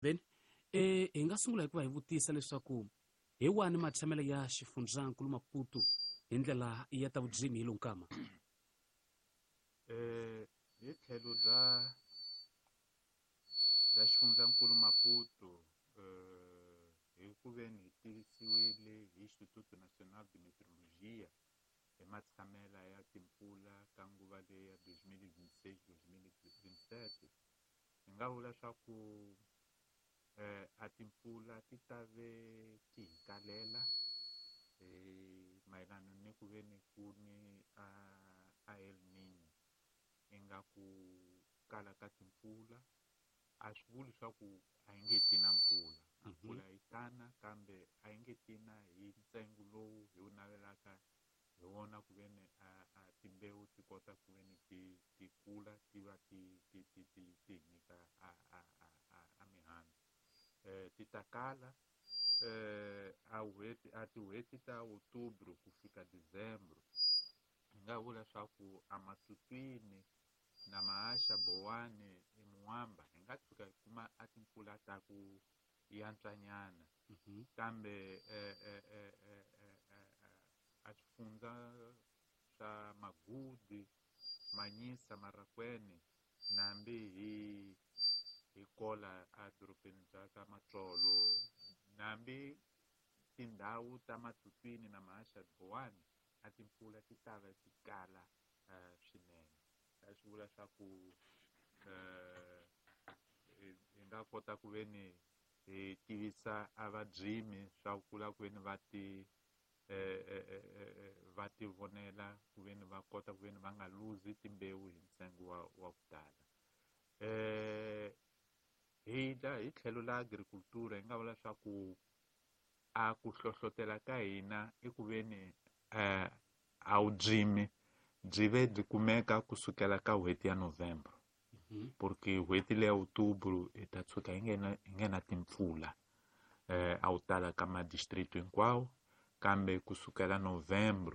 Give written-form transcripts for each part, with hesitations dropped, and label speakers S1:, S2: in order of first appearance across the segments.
S1: Veni, e hi nga sungula hi ku va hi vutisa leswaku hi wani matshamelo ya xifundzankulu Maputo hi ndlela ya ta vudzimi hi lowu nkama?
S2: Hi tlhelo bya xifundzankulu Maputo, hi ku veni hi tivisiwile hi Instituto Nacional de Meteorologia hi matshamela ya timpfula ka nguva leyi ya 2026 2027, hi nga vula swa ku a timpfula ti ta ve ti hi kalela mayelana ni ku ve ni ku ni a El Niño. Ingaku kala ka timpfula a swi vuli swa ku a yi nge ti na mpfula. A mpfula yi tana, kambe a yi nge tina hi ntsengo lowu hi wu navelaka hi wona ku ve ni a timbewu ti kota ku ve ni ti kula, ti va ti hi nyika a mihandzu. Ti ta kala a n'hweti a tin'hweti ta Outubro ku fika Dezembro. Hi nga vula swa ku a Matutuine na Mahaxa, Bowani, eMoamba hi nga tshuka hi kuma a timpfula ta ku yantswanyana, kambe a swifundza swa Magudi, Manyisa, Marakwene, nambi hi kola a dorobeni bya ka Matsolo, nambi tindhawu ta Matutuine na Mahaxa, Bowani, a timpfula ti ta va ti kala swinene. A swi vula swa ku hi nga kota ku ve ni hi tivisa a vadzimi swa ku la ku ve ni va ti vonela ku ve ni va kota ku ve ni va nga luzi timbewu hi ntsengo wa ku tala. Hi la hi tlhelo la agriculture, hi nga vula swa ku a ku hlohlotela ka hina i ku ve ni a vudzimi byi ve byi kumeka kusukela ka n'hweti ya November, porque n'hweti leya Outubro hi ta tshuka hi nghena timpfula a wu tala ka ma-district hinkwawo. Kambe kusukela November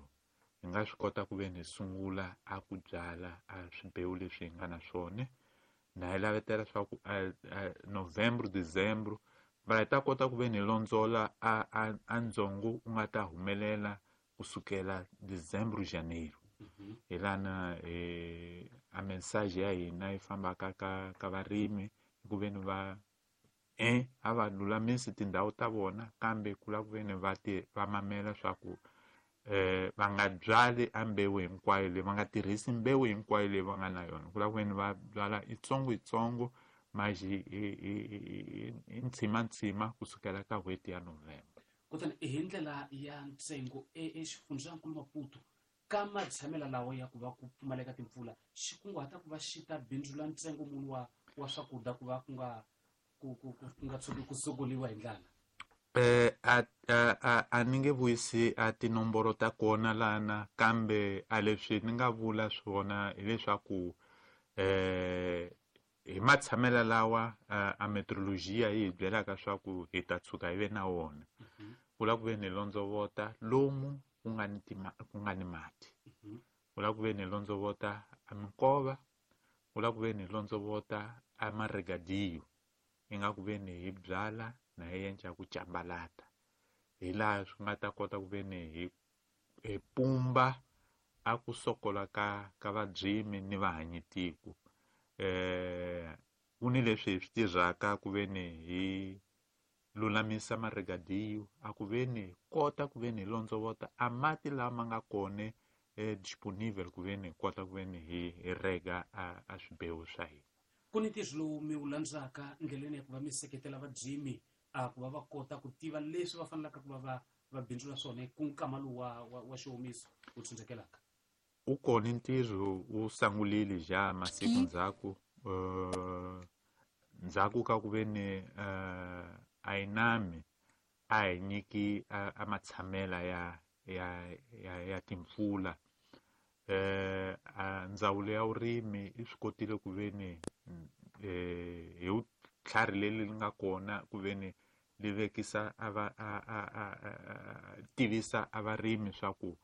S2: hi nga swi kota ku ve ni hi sungula a ku byala a swimbewu leswi hi nga na swona, na hi lavetela swa ku November, December va hi ta kota ku ve ni londzola a ndzongo u nga ta humelela kusukela December, Janeiro. Hi lana a message ya hina yi fambaka ka varimi ku ve ni va a va lulamisi tindhawu ta vona, kambe ku lava ku ve ni va mamela swa ku va nga byali a mbewu hinkwayo leyi, va nga tirhisi mbewu hinkwayo leyi va nga na yona. Ku lava ku ve ni va byala itsongo itsongo, maxi hi ntshima kusukela ka n'hweti ya November.
S1: Kutani hi ndlela ya ntsengo exifundzankulu Maputo, ka matshamela lawa ya ku va ku pfumaleka timpfula, xi kunguhata ku va xi ta bindzula ntsengo muni wa swakudya ku va ku nga tshuki ku sokoliwa hi ndlala?
S2: A ni nge vuyisi a tinomboro ta kona lana, kambe a leswi ni nga vula swona hileswaku hi matshamela lawa a meteorologia yi hi byelaka swa ku hi ta tshuka hi ve na wona, ku lava ku ve ni londzovota lomu ku nga ni mati, ku lava ku ve ni londzovota a minkova, ku lava ku ve ni londzovota a maregadiyo, ingaku ve ni hi byala na hi endla ku cambalata, hi laha swi nga ta kota ku ve ni hi pumba a ku sokola ka vadzimi ni vahanyitiko. Ku ni leswi hi swi tirhaka ku ve ni hi lulamisa maregadiyo, a ku ve ni kota ku ve ni hi londzovota a mati lama nga kona disponible, ku ve ni hi kota ku ve ni hi rega a swibewu swa hina.
S1: Ku ni ntirho lowu mi wu landzaka ndleleni ya ku va mi seketela vadzimi a ku va va kota ku tiva leswi va fanelaka ku va va bindzula swona ku nkama lowu wa xiwomiso wu tsundzukelaka?
S2: U kona ntirho, wu sungulile ja masiku ndzhaku, ndzhaku ka ku ve ni a INAMI a hi nyiki a matshamela ya timpfula, a ndzawulo ya vurimi yi swi kotile ku ve ni hi vutlhari leri nga kona ku ve ni li vekisa a va a tivisa a varimi swa ku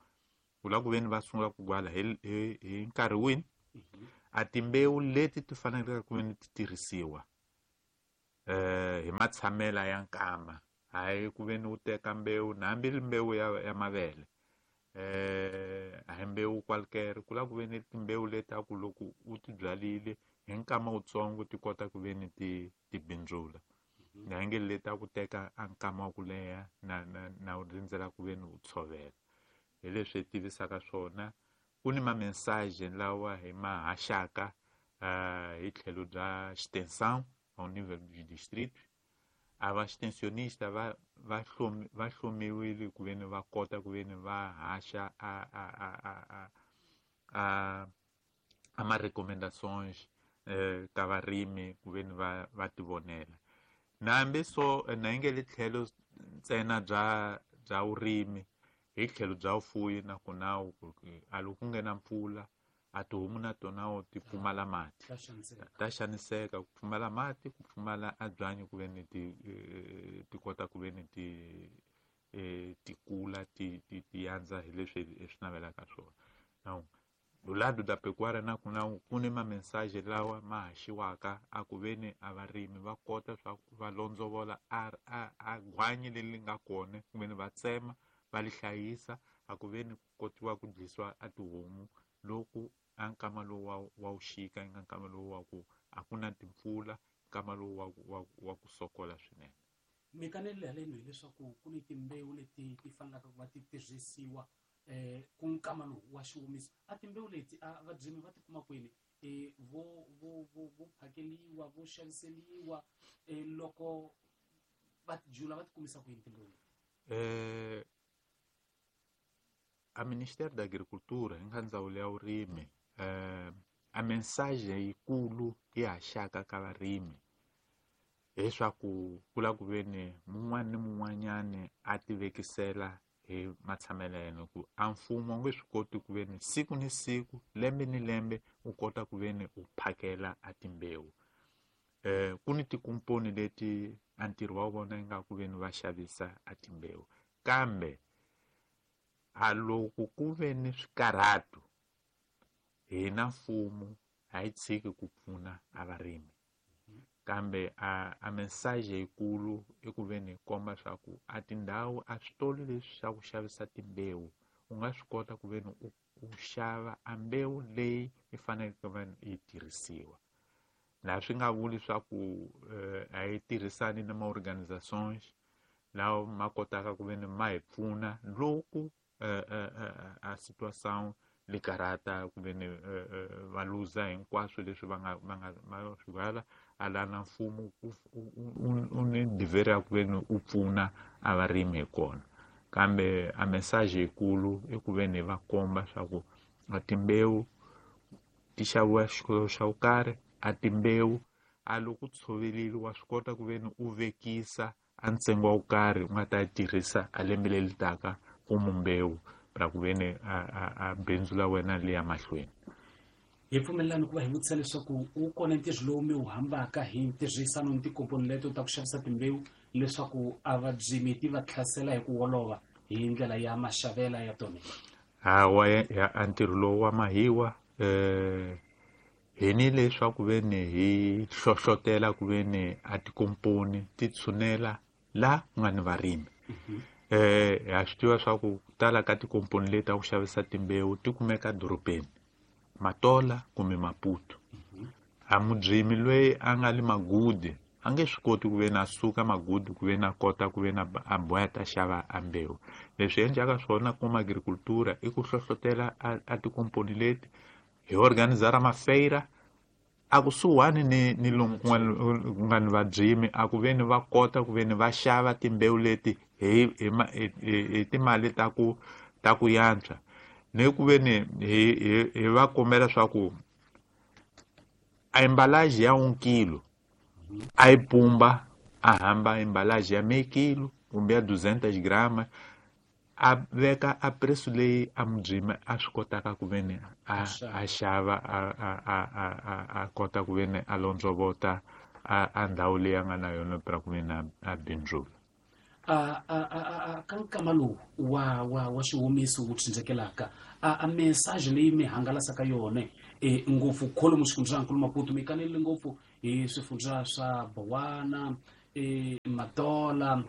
S2: ku lava ku ve ni va sungula ku byala hi nkarhi wini, a timbewu leti ti faneleke ku ve ni ti tirhisiwa. Hi matshamela ya nkama, hayi ku ve ni u teka mbewu na hambi mbewu ya mavele, a hi mbewu qualquer, ku lava ku ve ni timbewu leti a ku loko u ti byalile hi nkama wutsongo ti kota ku ve ni ti bindzula. Na nge leti a ku teka a nkama wa ku leha na u rindzela ku ve ni u tshovela. Hi leswi hi tivisaka swona. Ku ni ma-message lawa hi ma haxaka hi tlhelo bya extensão ao nível dos distritos. A va extensionista va hlomiwile ku ve ni va kota ku ve ni va haxa a ma-recommendações ka varimi ku ve ni va tivonela. Na hambi so na yi nge le tlhelo ntsena bya vurimi, hi tlhelo bya vufuwi na kona a loko ku nghena mpfula a tihomu na tona ti pfumala mati, ta xaniseka ku pfumala mati, ku pfumala a byanyi ku ve ni ti kota ku ve ni ti kula ti yandza hi leswi hi swi navelaka swona. Now, do lado da pecuária na ku na ku ni ma-mensagem lawa ma haxiwaka a ku ve ni a varimi va kota swa ku va londzovola a gwanyi leri nga kona, ku ve ni va tsema va li hlayisa, a ku ve ni ku kotiwa ku dlisiwa a tihomu loko a nkama lowu wa wuxika, nga nkama lowu wa ku a ku na timpfula, nkama lowu wa ku sokola swinene.
S1: Mi kanelile haleno hileswaku ku ni timbewu leti ti fanelaka ku va ti tirhisiwa ku nkama lowu wa xiwomiso. A timbewu leti a vabyimi va ti kuma kwini? Vo phakeliwa, vo xaviseliwa, loko va ti jula va ti kumisa kwini timbewu leti?
S2: A Ministério da Agricultura hi nga ndzawulo ya vurimi, a mensagem yikulu yi haxaka ka varimi hileswaku ku lava ku ve ni mun'wana ni mun'wanyani a ti vekisela hi matshamelo ya yena, ku a mfumo wu nge swi koti ku ve ni siku ni siku, lembe ni lembe u kota ku ve ni u phakela a timbewu. Ku ni tikomponi leti a ntirho wa vona yi nga ku ve ni va xavisa a timbewu, kambe a loko ku ve ni swikarhato hina mfumo a yi tshiki ku pfuna a varimi, kambe a mensagem yikulu i ku ve ni komba swa ku a tindhawu a switolo leswi swa ku xavisa timbewu u nga swi kota ku ve ni u xava a mbewu leyi yi faneleke ku va yi tirhisiwa. Na swi nga vuli swa ku a yi tirhisani na ma-organizations lawa ma kotaka ku ve ni ma hi pfuna loko a situação li karata ku ve ni va luza hinkwaswo leswi va nga va nga va swi byala, a la na mfumo u ni dever ya ku ve ni u pfuna a varimi hi kona. Kambe a message yikulu i ku ve ni va komba swa ku a timbewu ti xaviwa xikolo xa ku karhi, a timbewu a loko u tshovelile wa swi kota ku ve ni u vekisa a ntsengo wa ku karhi u nga ta tirhisa a lembe leri taka ku mbewu ra ku ve ni a bindzu la wena li ya mahlweni.
S1: Hi pfumelelani ku va hi vutisa leswaku wu kona ntirho lowu mi wu hambaka hi ntirhisano ni tikomponi leto ta ku xavisa timbewu leswaku a vabyimi ti va tlhasela hi ku olova hi ndlela ya maxavela ya tona?
S2: Hawa, a ntirho lowu wa mahiwa, hi ni leswaku ve ni hi hlohlotela ku ve ni a tikomponi ti tshunela la ku nga ni varimi. Ha swi tiva swa ku tala ka tikomponi leti ta ku xavisa timbewu ti kumeka dorobeni, Matola kumbe Maputo. A mubyimi loyi a nga le Magudi a nge swi koti ku ve na suka Magudi ku ve na kota ku ve na a boha ta xava a mbewu. Leswi endlaka swona kuma agricultura i ku hlohlotela a tikomponi leti hi organizara mafeira a kusuhani ni lomu ku nga ni vabyimi, a ku ve ni va kota ku ve ni va xava timbewu leti hi timali ta ku yantswa, ni ku ve ni hi va kombela swa ku a embalagem ya 1 kilo a yi pumba a hamba embalagem ya meio kilo kumbe ya 200 grama, a veka a preço leyi a mubyimi a swi kotaka ku ve ni a xava, a kota ku ve ni a londzovota a ndhawu leyi a nga na yona pra ku ve ni a bindzula.
S1: Ka nkama lowu wa xiwomiso wu tsindzekelaka, a message leyi mi hangalasaka yona, ngopfu kholomu xifundzhankulu Maputo, mi kanelile ngopfu hi swifundza swa Bowana, Matola,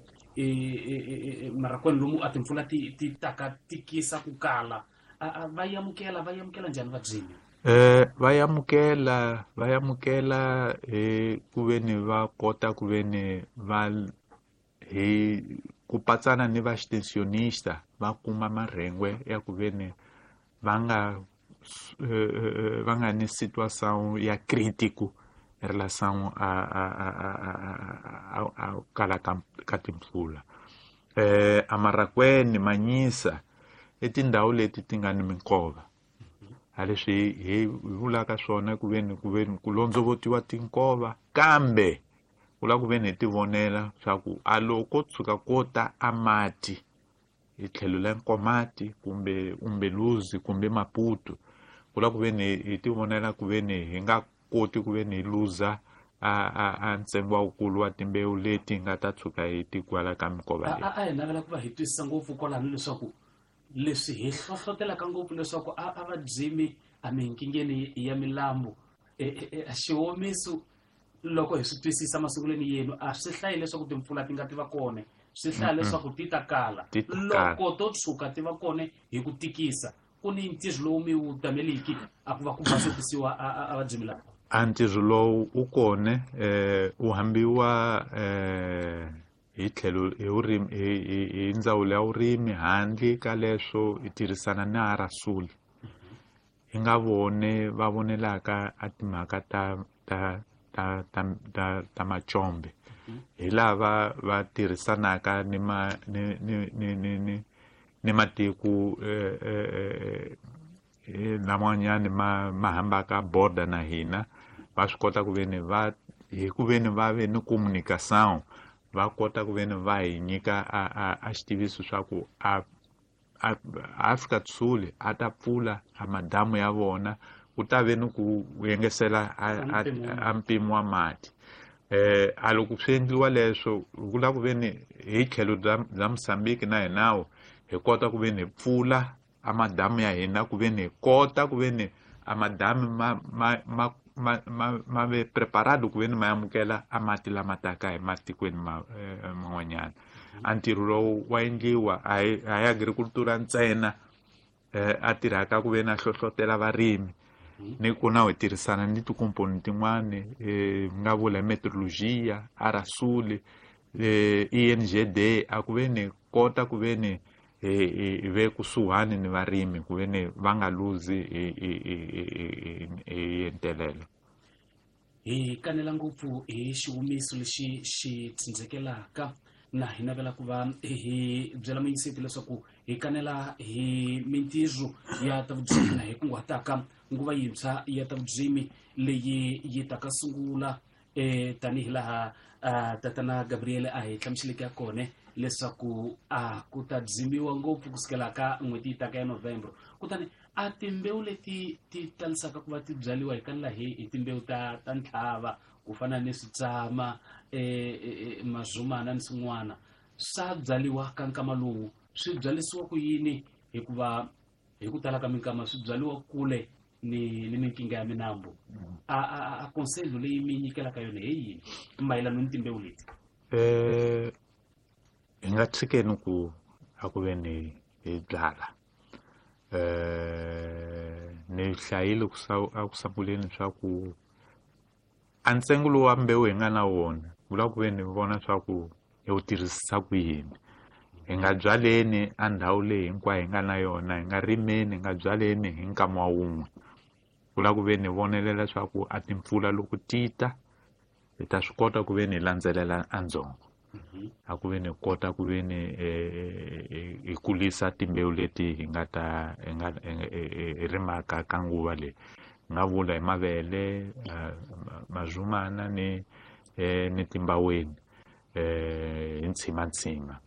S1: Marracuene lomu a timpfula ti taka tikisa ku kala. Va yamukela njhani vabyimi?
S2: Va yamukela hi ku veni va kota ku veni va hi ku patsana ni va extensionista va kuma marhengwe ya ku veni va nga ni situação ya crítico em relação a kala ka timpfula. A Marracuene, Manhissa i tindhawu leti ti nga ni minkova. A leswi hi vulaka swona ku veni ku londzovotiwa tinkova, kambe ku lava ku veni hi tivonela swa ku a loko tshuka ko ta a mati hi tlhelo la Nkomati kumbe Umbeluzi kumbe Maputo, ku lava ku veni hi tivonela ku veni hi nga koti ku veni hi luza a ntsengo wa wukulu wa timbewu leti nga ta tshuka hi tikwala ka minkova leyi.
S1: A hi navela ku va hi twisisa ngopfu kwalano leswaku leswi hi hlohlotelaka ngopfu leswaku a va byimi a minkingeni ya milambu xiwomiso loko hi swi twisisa masungulweni yenu a swi hlayi leswaku timpfula ti nga ti va kona, swi hlaya leswaku ti ta kala. Loko to tshuka ti va kona hi ku tikisa, ku ni ntirho lowu mi wu tameliki a ku va ku basokisiwa a va byimi lava.
S2: A ntirho lowu wu kona, wu hambiwa hi tlhelo hi vurimi hi ndzawulo ya vurimi. Handle ka leswo hi tirhisana na Arasuli, hi nga vone va vonelaka a timhaka ta macombe, hi lava va tirhisanaka ni ma ni ni ni ni ni ni matiko laman'wanyani ma hambaka border na hina, va swi kota ku veni va hi ku veni va ve ni communication, va kota ku veni va hi nyika a xitiviso swa ku a Afrika Sul a ta pfula a madamu ya vona, ku ta ve ni ku yengesela a mpimo wa mati. A loko swi endliwa leswo ku lava ku veni hi tlhelo bya Mozambique na hinawo hi kota ku veni hi pfula a madamu ya hina, ku veni hi kota ku veni a madamu ma ve preparado ku veni ma amukela a mati lama taka hi matikweni man'wanyana. A ntirho lowu wa endliwa a hi agricultura ntsena a tirhaka ku veni a hlohlotela varimi, ni ku na hi tirhisana ni tikomponi tin'wani, nga vula meteorologia, Arasuli, ENGD, a ku veni kota ku veni hi ve kusuhani ni varimi ku veni va nga luzi hi entelelo.
S1: Hi kanela ngopfu hi xihumiso lexi xi tsindzekelaka, na hi navela ku va hi byela muyingiseti leswaku hi kanela hi mintirho ya ta vubyimi na hi kunguhataka nguva yintshwa ya ta vubyimi leyi yi taka sungula tanihi laha tatana Gabriel a hi hlamuseleke ya kona leswaku a ku ta byimiwa ngopfu kusukela ka n'hweti yi taka ya November. Kutani a timbewu leti ti talisaka ku va ti byaliwa hi kanela hi timbewu ta ntlhava ku fana ni switsama, mazumana ni swin'wana, swa byaliwa ka nkama lowu. Swi byalisiwa ku yini? Hikuva hi ku tala ka minkama swi byaliwa kule ni minkinga ya minambu. A conselho leyi mi nyikelaka yona hi yini mayelana ni timbewu leti?
S2: Hi nga tshikeni ku a ku veni hi byala. Ni hlayile a ku sunguleni swa ku a ntsengo lowu wa mbewu hi nga na wona vula ku veni vona swa ku hi wu tirhisisa ku yini. Hi nga byaleni a ndhawu leyi hinkwayo hi nga na yona, hi nga rimeni, hi nga byaleni hi nkama wa wun'we. Ku lava ku veni hi vonelela swa ku a timpfula loko ti ta hi ta swi kota ku veni hi landzelela a ndzhongo, a ku veni hi kota ku veni hi kulisa timbewu leti hi nga ta hi nga hi rimaka ka nguva leyi. Hi nga vula hi mavele, mazumana ni timbaweni, hi ntshimantsima.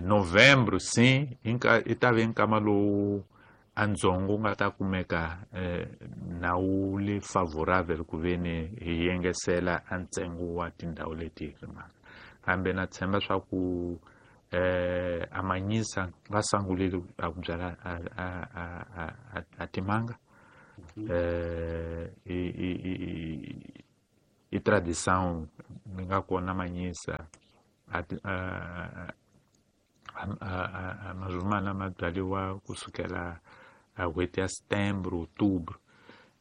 S2: November si i ta ve nkama lowu a ndzhongo wu nga ta kumeka na wu le favorable ku veni hi yengesela a ntsengo wa tindhawu leti hi rimaka. Kambe na tshemba swa ku a Manhissa va sungulile a ku byala a timanga. I tradição mi nga kona manyisa a mazumana ma byariwa kusukela a n'hweti ya setembro, outubro.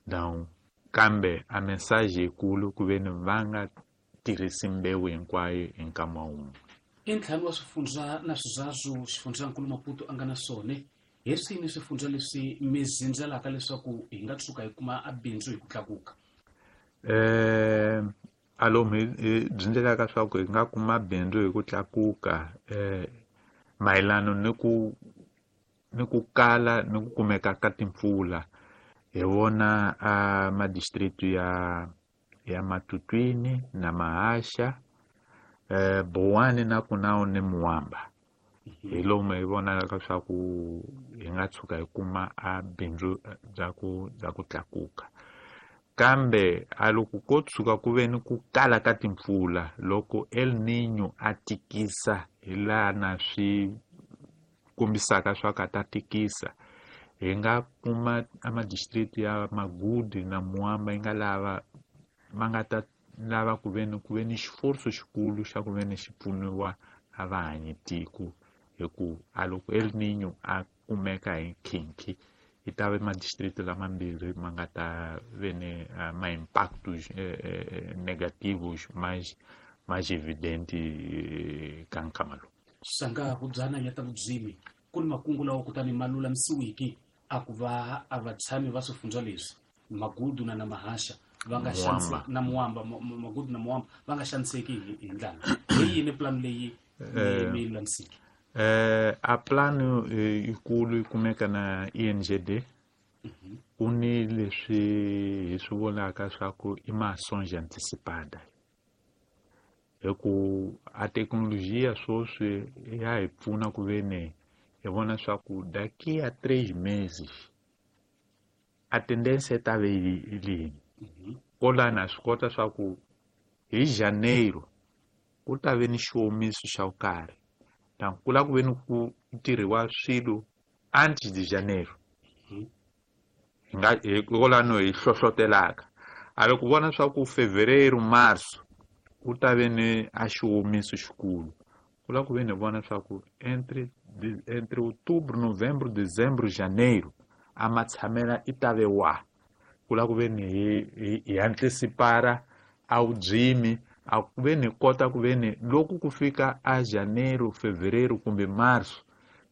S2: Então kambe a mensagem yikulu ku ve ni va nga tirhisi mbewu hinkwayo hi nkama wun'we.
S1: I ntlhanu wa swifundza na swizazu xifundzankulu Maputo a nga na swona. Hi swini swifundza leswi mi zindzelaka leswaku hi nga tshuka hi kuma a bindzu hi ku tlakuka?
S2: Alomu hi byindzelaka swa ku hi nga kuma bindzu hi ku tlakuka mayelana ni ku kala ni ku kumeka ka timpfula. Hi vona a madistrict ya Matutuine na Mahasha, Boane na Kunao ni Muamba. Hi lomu hi vonaka swa ku hi nga tshuka hi kuma a bindzu bya ku tlakuka. Kambe a loko ko tshuka ku ve ni ku kala ka timpfula, loko El Niño a tikisa hi laha na swi kombisaka swa ku a ta tikisa, hi nga kuma a madistrict ya Magudu na Muamba yi nga lava ma nga ta lava ku ve ni ku ve ni xiforso xikulu xa ku ve ni xi pfuniwa a va hanyi tiko, hi ku a loko El Niño a kumeka hi nkhinkhi yi ta ve madistrict lamambirhi ma nga ta ve ni ma impactos negativos mais evidente ka nkama lowu.
S1: Sanga hubyana ya ta vudzimi ku ni makungu lawa kutani ma lulamisiwiki a ku va a vatshami va swifundza leswi Magudu na Mahasha va nga xanise na Muamba, Magudu na Muamba va nga xaniseki hi ndlala. Hi yini plan leyi mi lulamisiki?
S2: A plan yikulu yi kumeka na INGD. Ku ni leswi hi swi vulaka swa ku i ma-songe anticipada, hi ku a thekinolojiya sweswi ya hi pfuna ku ve ni hi vona swa ku daqui a 3 meses a tendência ta ve yi lini. Kolani a swi kota swa ku hi janeiro ku ta ve ni xiwomiso xa ku karhi, donc ku lava ku ve ni ku tirhiwa swilo antes de janeiro. Hi nga hi kolano hi hlohlotelaka a loko vona swa ku fevereiro, marso ku ta ve ni a xiwomiso xikulu, ku lava ku ve ni vona swa ku entre outubro, novembro, dezembro, janeiro a matshamela i ta ve wa. Ku lava ku ve ni hi antecipara a vudzimi, a ku ve ni kota ku ve ni loko ku fika a janeiro, fevereiro kumbe marso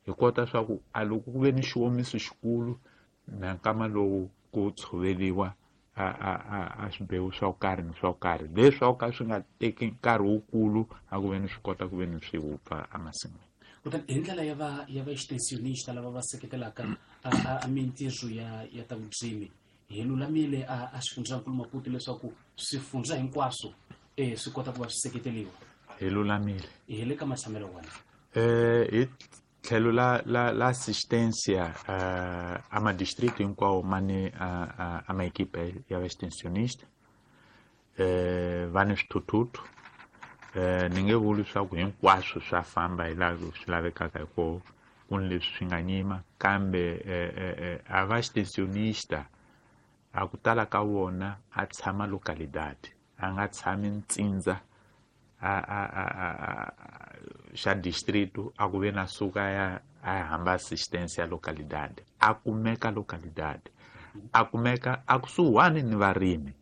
S2: hi kota swa ku a loko ku ve ni xiwomiso xikulu na nkama lowu ku tshoveriwa a swibewu swa ku karhi ni swa ku karhi leswi ka swi nga teki nkarhi wukulu a ku ve ni swi kota ku ve ni swi wupfa emasin'wini.
S1: Kutani hi ndlela ya va ya va extensionista lava va seketelaka a mintirho ya ta vudzimi, hi lulamile a xifundzankulu Maputo leswaku swifundza hinkwaswo swi kota ku va swi seketeriwa?
S2: Hi lulamile.
S1: Hi le ka matshamelo wona.
S2: Hi tlhelo la assistência a madistrito hinkwawo ma ni a ma equipe ya extensionista, va ni swithuthuthu. Ni nge vuli swa ku hinkwaswo swa famba hi laha swi lavekaka hi kona, ku ni leswi swi nga nyima, kambe a va extensionista a ku tala ka vona a tshama localidade, a nga tshami ntsindza a xa distrito a ku ve na suka ya a hamba assistência ya localidade, a kumeka localidade, a kumeka a kusuhani ni varimi.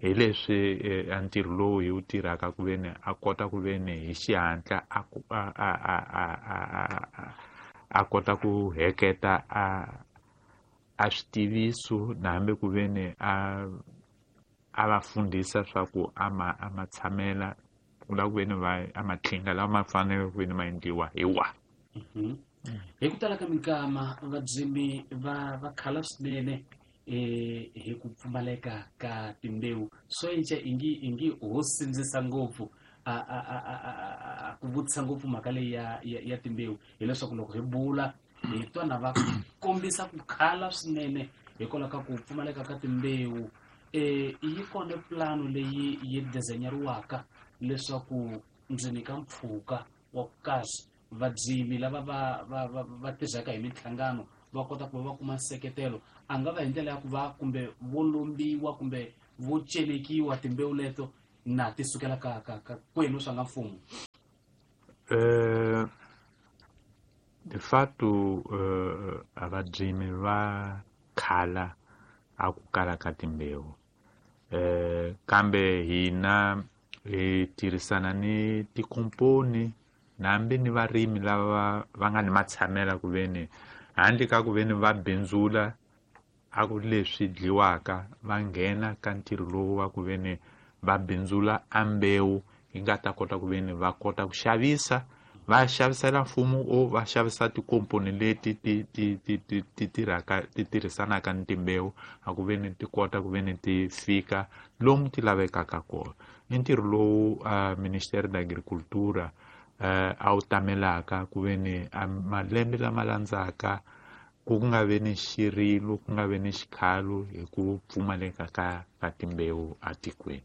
S2: Hi leswi a ntirho lowu hi wu tirhaka ku ve ni a kota ku ve ni hi xihatla a kota ku heketa a switiviso na hambi ku ve ni a va fundisa swa ku a ma tshamela ku lava ku ve ni va a matlhinga lawa ma fanele ku ve ni ma endliwa hi wa.
S1: Hi ku tala ka minkama vadzimi va khala swinene hi ku pfumaleka ka timbewu. Swo enca ingi ho sindzisa ngopfu a ku vutisa ngopfu mhaka leyi ya timbewu, hileswaku loko hi bula hi twa na va kombisa ku khala swinene hikwalaho ka ku pfumaleka ka timbewu. Yi kona plano leyi yi design-eriwaka leswaku ndzeni ka mpfhuka wa ku kahle vadzimi lava va tirhaka hi minhlangano va kota ku va va kuma nseketelo, a nga va hi ndlela ya ku va kumbe vo lombiwa kumbe vo celekiwa timbewu leto Na ti sukela ka kwenu swa nga mfumo?
S2: De fato, a vadzimi va khala a ku kala ka timbewu, kambe hina hi tirhisana ni tikomponi nambi ni varimi lava va nga ni matshamela ku veni handle ka ku veni va bindzula a ku leswi dliwaka, va nghena ka ntirho lowu wa ku veni va bindzula a mbewu yi nga ta kota ku veni va kota ku xavisa, va xavisela mfumo o va xavisa tikomponi leti ti ti ti ti ti tirhaka ti tirhisanaka ni timbewu a ku veni ti kota ku veni ti fika lomu ti lavekaka kona. I ntirho lowu Ministério da Agricultura a wu tamelaka ku veni a malembe lama landzaka ku nga vi ni xirilo, ku nga vi ni xikhalo hi ku pfumaleka ka timbewu atikweni.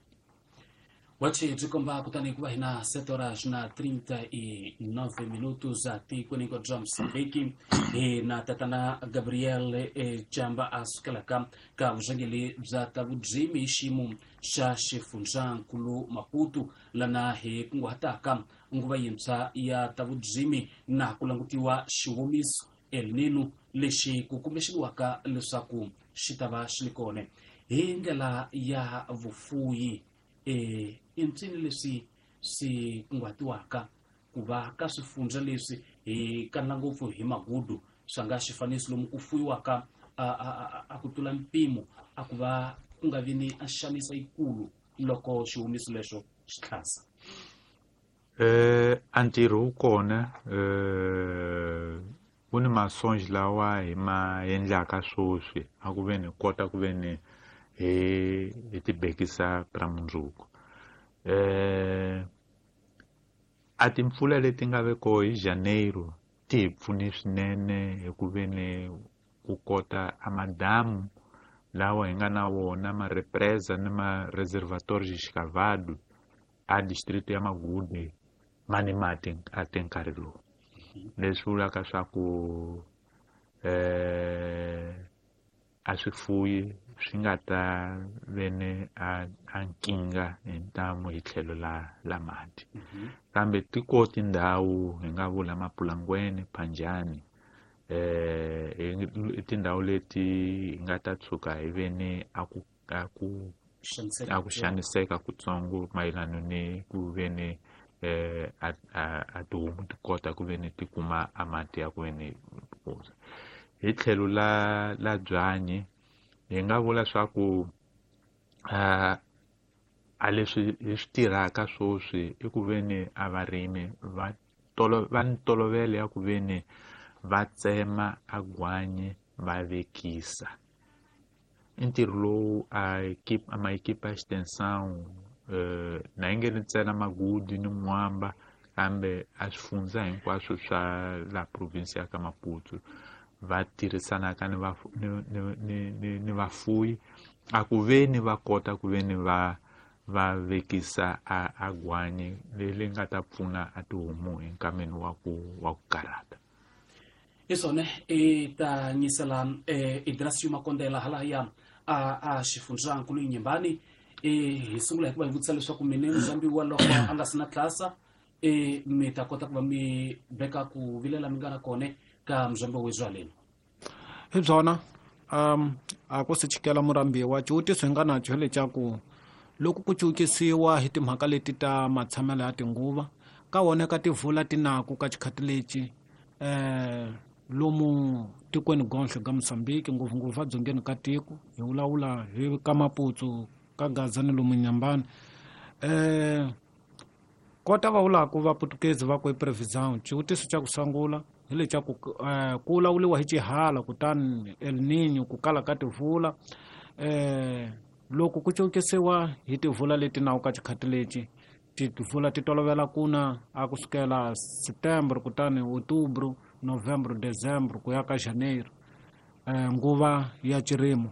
S1: Wachi byi komba kutani ku va hina 7 horas na 39 minutos atikweni bya Mozambique. Hi na tatana Gabriel Chamba a sukelaka ka vurhangeri bya ta vudzimi hi xiyimo xa xifundzankulu Maputo, lana hi kunguhataka nguva yintshwa ya ta vudzimi na ku langutiwa xiwomiso El Nino lexi ku kumbexaniwaka leswaku xi ta va xi li kona hi ndlela ya vufuyi. I ncini leswi swi kunguhatiwaka ku va ka swifundza leswi hi kanela ngopfu hi magudu swa nga xifaniso lomu ku fuyiwaka a ku tlula mpimo, a ku va ku nga vi ni a xanisa yikulu loko xihumiso lexo xi tlhasa?
S2: A ntirho wu kona, wu ni masonji lawa hi ma endlaka sweswi a ku veni hi kota ku veni hi tibekisa ra mundzuku. A timpfula leti nga ve koho hi Janeiro ti hi pfune swinene hi ku veni ku kota a madamu lawa hi nga na wona, ma represa ni ma reservatório escavado a distrito ya Magude ma ni mati a te nkarhi lowu. Leswi vulaka swa ku a swifuyi swi nga ta ve ni a nkingha hi ntamu hi tlhelo la mati. Kambe ti ko tindhawu hi nga vula Mapulangweni, Phanjani, i tindhawu leti hi nga ta tshuka hi ve ni
S1: Xaniseka
S2: a ku xaniseka kutsongo mayelana ni ku ve ni a tihomu ti kota ku ve ni ti kuma a mati ya ku ve ni phuza. Hi tlhelo la byanyi hi nga vula swa ku a leswi hi swi tirhaka sweswi i ku ve ni a varimi va ni ntolovelo ya ku ve ni va tsema a gwanyi va vekisa. I ntirho lowu a maekipa ya extension, na yi nge ni ntsena Magudu ni Mwamba, kambe a swifundza hinkwaswo swa la province ya ka Maputo va tirhisanaka ni vafuyi a ku ve ni va kota ku ve ni va vekisa a gwanyi leri nga ta pfuna a tihomu hi nkameni wa ku karhata.
S1: Hi swona i ta nyisela Idracio Makondela halaya a xifundzankulu Inhambane. Hi sungula hi ku va hi vutisa leswaku mine muzambiwa loko a nga si na tlasa, mi ta kota ku va mi veka ku vilela mi nga na kone ka muzambiwa wa Zwaleni.
S3: Hi byona, a ku si chikela murambiwa, xivutiso hi nga na xo hi lexa ku loko ku cukisiwa hi timhaka leti ta matshamelo ya tinguva ka wona ka tivula tinaku ka xikhati lexi, lomu tikweni gonhle ka Mozambique, ngopfungopfu a dzongeni ka tiko, hi vulavula hi ka Maputo, ka Gaza ni lomu Inhambane. Kota va vulaka va Portuguese va ku i previsão. Xivutiso xa ku sungula hi lexa ku vulavuriwa hi xihala, kutani El Niño, ku kala ka tivula. Loko ku cukisiwa hi tivula leti nawu ka xikhati lexi, tivula ti tolovela ku na a kusukela September, kutani Outubro, Novembro, Dezembro ku ya ka Janeiro, nguva ya xirimo.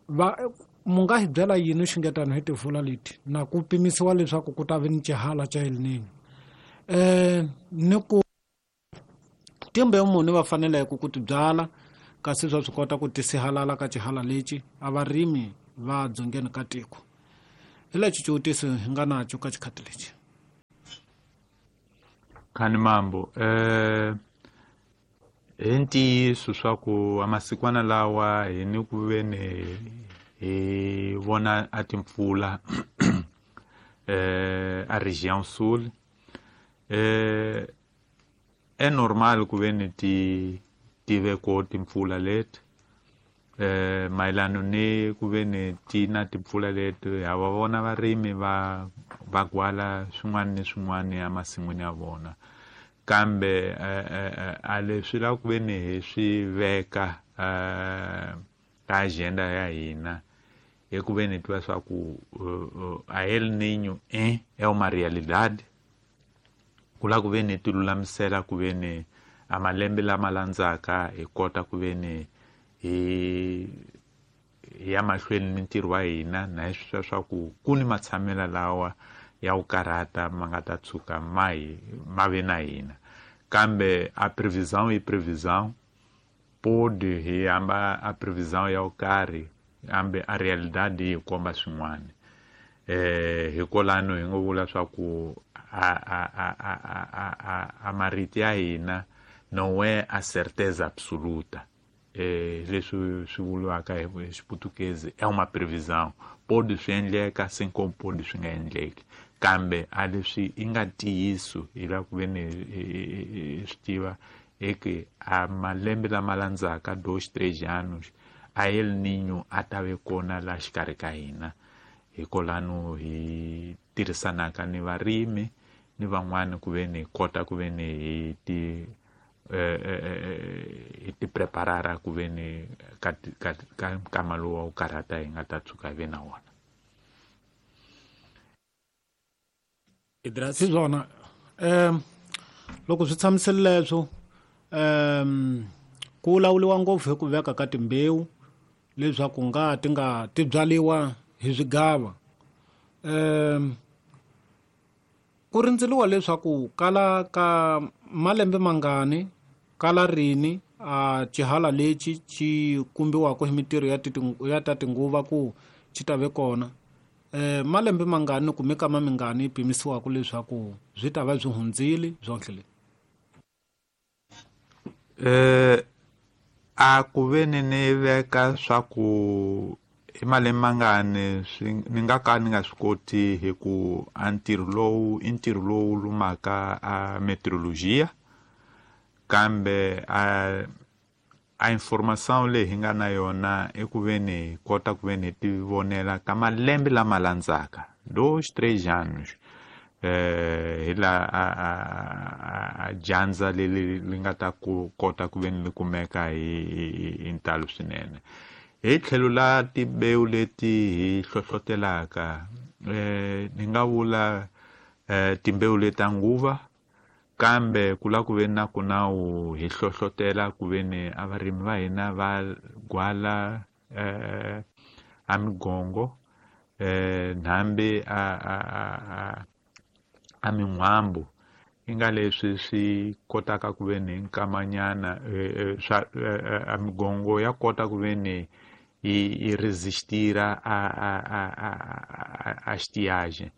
S3: Va mu nga hi byela yini xingetano hi tivula leti na ku pimisiwa leswaku ku ta vi ni xihala xa El Niño? Ni ku timbewu muni va faneleke ku ti byala kasi swa swi kota ku tisihalala ka xihala lexi a varimi va dzongeni ka tiko? Hi lexi xivutiso hi nga naco ka xikhati lexi.
S2: Khani mambo, hi ntiyiso swa ku amasikwana lawa hi ni ku veni hi vona a timpfula a Região Sul. É normal ku veni ti tive ko timpfula leti, mayelana ni ku veni ti na timpfula leti ha va vona varimi va gwala swin'wana ni swin'wana emasin'wini ya vona, kambe a leswi lava ku veni hi swi veka ka agenda ya hina hi ku veni hi tiva swa ku a El Niño é uma realidade. Ku lava ku veni hi ti lulamisela ku veni a malembe lama landzaka hi kota ku veni hi ya mahlweni ni ntirho wa hina, na hi swi swa ku ku ni matshamela lawa ya ku karhata ma nga ta tshuka ma ve na hina, kambe a previsão i previsão, pode hi hamba a previsão ya ku karhi kambe a realidade yi komba swin'wana. Hikwalano hi ngo vula swa ku a marito ya hina não é a certeza absoluta. Leswi swi vuriwaka hi Xiputukezi é uma previsão, pode swi endleka assim como pode swi nga endleki, kambe a leswi i nga ntiyiso hi lava ku veni hi swi tiva eke a malembe lama landzaka 2 3 anos a El Niño a ta ve kona la xikarhi ka hina. Hikwalano hi tirhisanaka ni varimi ni van'wani ku veni hi kota ku veni hi ti hi ti preparara ku veni ka nkama lowu wa ku karhata hi nga ta tshuka hi ve na wona.
S3: Hi swona, loko swi tshamisile leswo, ku lawuriwa ngopfu hi ku veka ka timbewu leswaku nga ti nga ti byariwa hi swigava. Ku rindzeriwa leswaku kala ka malembe mangani kala rini a xihala lexi xi kumbiwaka hi mintirho ya ta tinguva ku xi ta ve kona. Malembe mangani kumbe kama mingani yi pimisiwaka leswaku swi ta va swi hundzile byonhle leswi?
S2: A ku veni ni veka swa ku i malembe mangani ni nga ka ni nga swi koti hi ku a ntirho lowu i ntirho lowu lumaka a meteorologia, kambe a informação leyi hi nga na yona i ku veni hi kota ku veni hi ti vonela ka malembe lama landzaka 2 3 anos, hi la a dyandza leri li nga ta ku kota ku veni li kumeka hi ntalo swinene. Hi tlhelo la timbewu leti hi hlohlotelaka, ni nga vula timbewu leta nguva, kambe ku lava ku ve na ku na wu hi hlohlotela ku veni a varimi va hina va gwala a migongo, nhambi a min'wambu, i nga leswi swi kotaka ku veni hi nkamanyana, swa a migongo ya kota ku veni yi resistira a estiagem.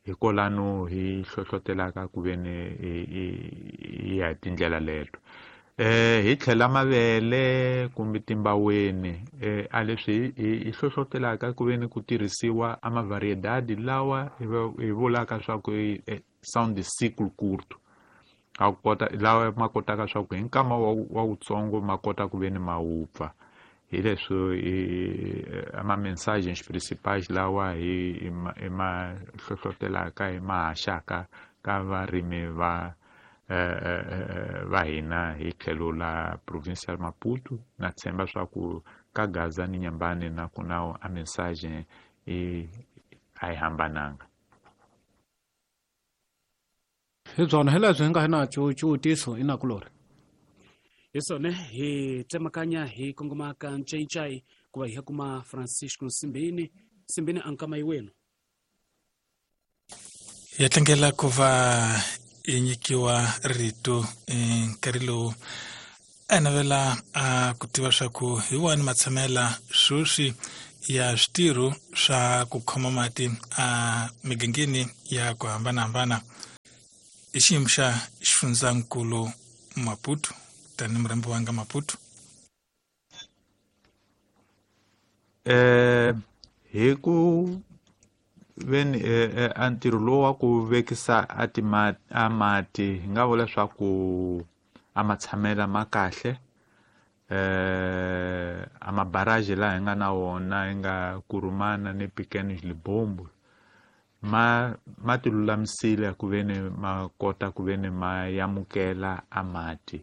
S2: Hikwalano hi hlohlotelaka ku veni hi ya hi tindlela leto. Hi tlhela mavele kumbe timbaweni, a leswi hi hlohlotelaka ku veni ku tirhisiwa a mavariedade lawa hi vulaka swa ku são de ciclo curto, a kota lawa ma kotaka swa ku hi nkama wa wutsongo ma kota ku veni ma wupfa. Hi leswi ama mensagens principais lawa hi ma hlohlotelaka hi ma haxaka ka varimi va hina hi tlhelo la província ya Maputo. Na tshemba swa ku ka Gaza ni Nyambane na ku na a mensagem a yi hambananga.
S3: Hi byona hi leswi hi nga hi na xivutiso inakulori.
S1: Hi swona hi tsemakanya hi kongoma ka Ncaincai ku va hi ya kuma Francisco Nsimbini. Nsimbini a nkama yiwenu.
S4: Ya tlangela ku va yi nyikiwa rito nkarhi lowu a navela a ku tiva swa ku hi wani matshamela sweswi ya switirho swa ku khoma mati a migangeni ya ku hambanahambana i xiyimo xa xifundzankulu Maputo tani murhambi wanga Maputo.
S2: Hi ku veni a ntirho lowu wa ku vekisa a mati hi nga vula leswaku a matshamela ma kahle. A mabaraji laha hi nga na wona hi nga Kurumana ni Pequenos Libombo ma ti lulamisile ku veni ma kota ku veni ma yamukela a mati.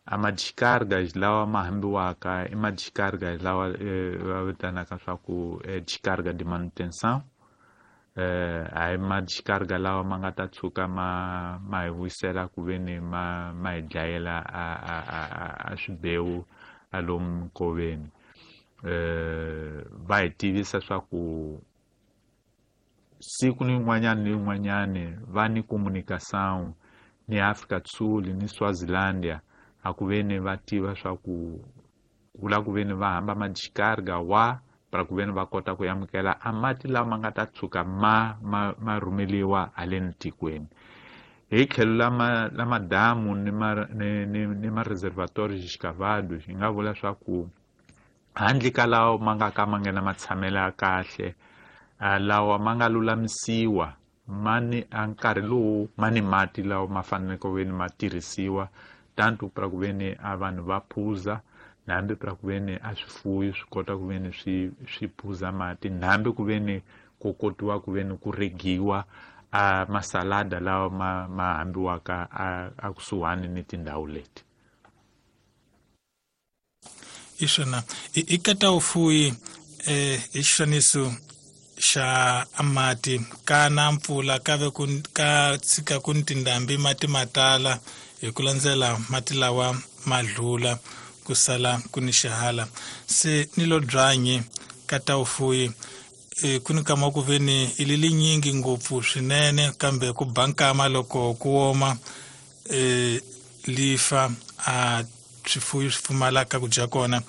S2: A ma-descargas lawa ma hambiwaka i ma-descargas lawa va vitanaka swa ku descarga de manutenção. A hi ma-descarga lawa ma nga ta tshuka ma hi vuyisela ku veni ma hi dlayela a swibewu a lomu nkoveni. Va hi tivisa swa ku siku ni yin'wanyana ni yin'wanyani va ni comunicação ni Afrika do Sul ni Swazilandia a ku veni va tiva swa ku vula ku veni va hamba ma-descarga wa para ku veni va kota ku amukela a mati lawa ma nga ta tshuka ma rhumeliwa haleni tikweni. Hi tlhelo la madamu ni ma-reservatorio escavado hi nga vula swa ku handle ka lawa ma nga ka ma nga na matshamelo ya kahle, lawa ma nga lulamisiwa ma ni a nkarhi lowu ma ni mati lawa ma faneleke ku veni ma tirhisiwa tanto para ku veni a vanhu va phuza, hambi para ku veni a swifuyo swi kota ku veni swi phuza mati, hambi ku veni ku kotiwa ku veni ku regiwa a masalada lawa ma hambiwaka a kusuhani ni tindhawu leti.
S4: Iswona i kata ufuyi i xifaniso xa mati ka na mpfula ka ve ku ka tshika ku ni tindhambi mati ma tala hi ku landzela mati lawa ma dlula ku sala ku ni xihala se ni lo byanyi ka ta ufuyi ku ni kama ku ve ni i li linyingi ngopfu swinene kambe ku ba nkama loko ku woma lifa a swifuyo swi pfumalaka ku dya kona.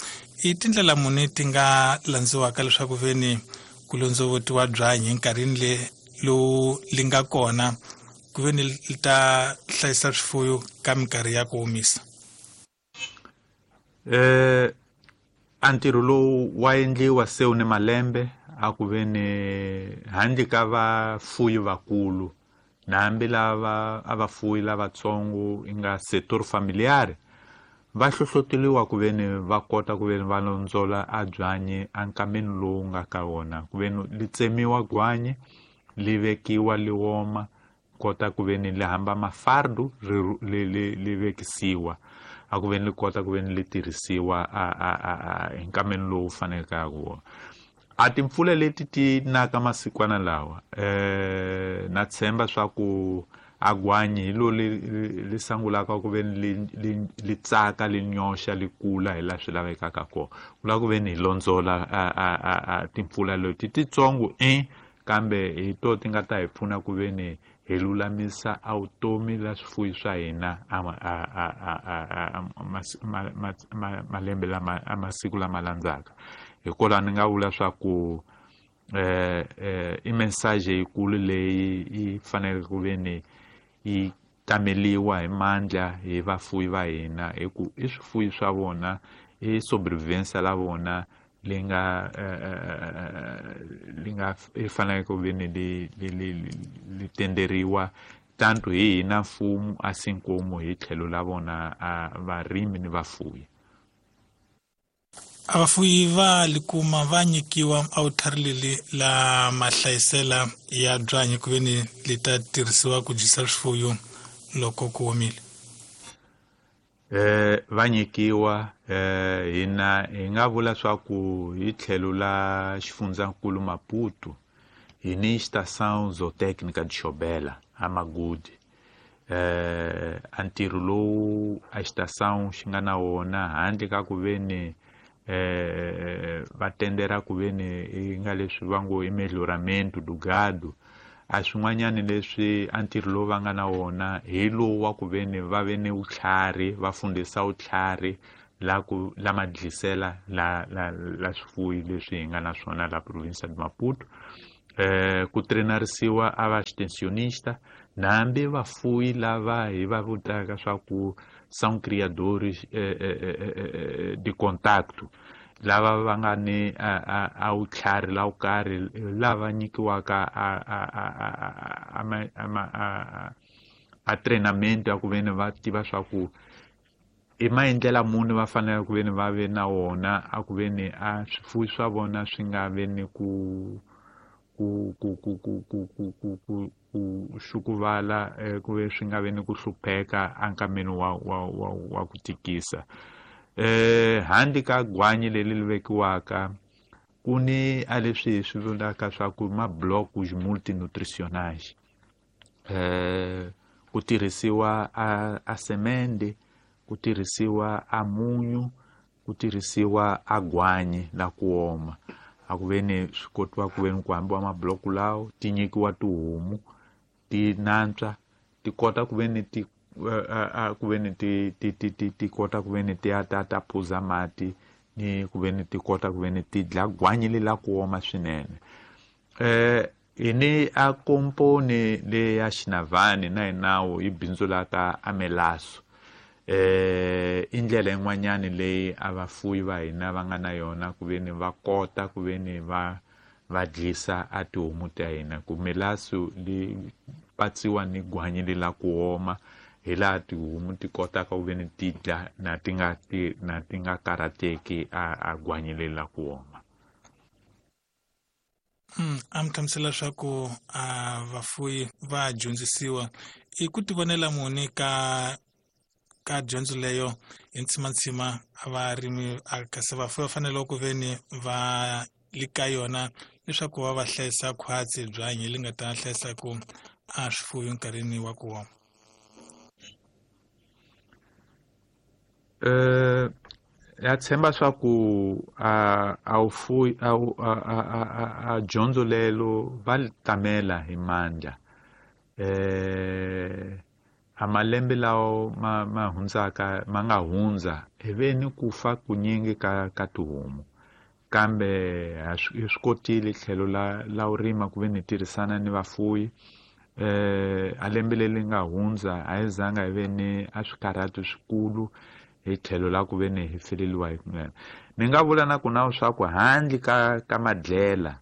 S4: I tindlela muni ti nga landziwaka leswaku ve ni ku londzovotiwa byanyi enkarhini le lowu li nga kona ku ve ni li ta hlayisa swifuyo ka minkarhi ya ku omisa?
S2: A ntirho lowu wa endliwa se wu ni malembe a ku ve ni handle ka vafuyi vakulu na hambi lava a vafuyi lavatsongo i nga sector familiar va hlohloteliwa ku ve ni va kota ku ve ni va londzola a byanyi a nkameni lowu nga ka wona ku ve ni li tsemiwa gwanyi li vekiwa li woma kota ku ve ni li hamba mafardu li vekisiwa a ku ve ni li kota ku ve ni li tirhisiwa a hi nkameni lowu faneleke wona. A timpfula leti ti naka masikwana lawa na tshemba swa ku a gwanyi hi lo li sangulaka ku ve ni li tsaka li nyoxa li kula hi laha swi lavekaka kona. Ku lava ku ve ni hi londzola a timpfula leti titsongo kambe hi to ti nga ta hi pfuna ku ve ni hi lulamisa a vutomi la swifuyi swa hina malembe lama a masiku lama landzaka. Hikwalaho ni nga vula swa ku i message yikulu leyi yi faneleke ku ve ni yi tameliwa hi mandla hi vafuyi va hina hi ku i swifuyi swa vona i sobrevivência la vona li nga li nga i faneleke ku ve ni li tenderiwa tanto hi hina mfumo assim como hi tlhelo la vona varimi ni vafuyi.
S4: A vafuyi va li kuma va nyikiwa a vutlhari leli la mahlayisela ya byanyi ku ve ni li ta tirhisiwa ku dyisa swifuyo loko ku omile.
S2: Va nyikiwa hina hi nga vula swa ku hi tlhelo la xifundzankulu Maputo hi ni estação zootécnica de Xobela a Magude. A ntirho lowu a estação xi nga na wona handle ka ku ve ni va tendera ku ve ni i nga leswi va ngo i melhoramento do gado a swin'wanyani leswi a ntirho lowu va nga na wona hi lowu wa ku ve ni va ve ni vutlhari va fundisa vutlhari la ku la madlisela la la la swifuyi leswi hi nga na swona la provincia de Maputo. Ku trenarisiwa a va extensionista nambi vafuyi lava hi va vutaka swa ku são criadores de contacto, lava va nga ni a vutlhari la wo karhi, lava nyikiwaka a treinamento ya ku veni va tiva swa ku i maendlela muni va fanele ku veni va ve na wona a ku veni a swifuwi swa vona swi nga ve ni ku ku ku ku ku ku ku ku ku ku xukuvala, ku ve swi nga ve ni ku hlupheka enkameni wa ku tikisa. Handle ka gwanyi leri li vekiwaka ku ni a leswi hi swi vulaka swa ku ma blocos multinutricionais, ku tirhisiwa a semende, ku tirhisiwa a munyu, ku tirhisiwa a gwanyi la ku oma, a ku ve ni swi kotiwa ku ve ni ku hambiwa mabloko lawo, ti nyikiwa tihomu ti nantswa, ti kota ku ve ni ti ku ve ni ti ti ti ti ti kota ku ve ni ti ya ta ta phuza mati, ni ku ve ni ti kota ku ve ni ti dla gwanyi le la ku oma swinene. Hi ni a komponi le ya Xinavani na hi nawu yi bindzulaka a melaso. I ndlela yin'wanyani leyi a vafuwi va hina va nga na yona ku ve ni va kota ku ve ni va dlisa a tihomu ta hina, ku melaso li patsiwa ni gwanyi le la ku oma, hi laha tihomu ti kotaka ku ve ni ti dla na ti nga ti na ti nga karhateki a gwanyi le la ku oma.
S4: A mi hlamusela leswaku a vafuwi va dyondzisiwa i ku tivonela muni ka dyondzo leyo hi ntsimantsima a varimi kasi vafuwi va fanele ku ve ni va li ka yona leswaku va va hlayisa khwatsi byanyi li nga ta hlayisa ku a swifuwi nkarhini wa ku oma.
S2: Ya tshemba swa ku a wu fuyi, a wu, a, a, a, a, a dyondzo lelo va li tamela hi mandla. A malembe lawo ma hundzaka, ma nga hundza, hi ve ni ku fa kunyingi ka tihomu, kambe ha hi swi kotile tlhelo la u rima ku ve ni tirhisana ni vafuwi. A lembe leri nga hundza a hi zanga hi ve ni a swikarhato swikulu hi tlhelo la ku ve ni hi feleliwa hi kunene. Ni nga vula na ku na swa ku handle ka madlela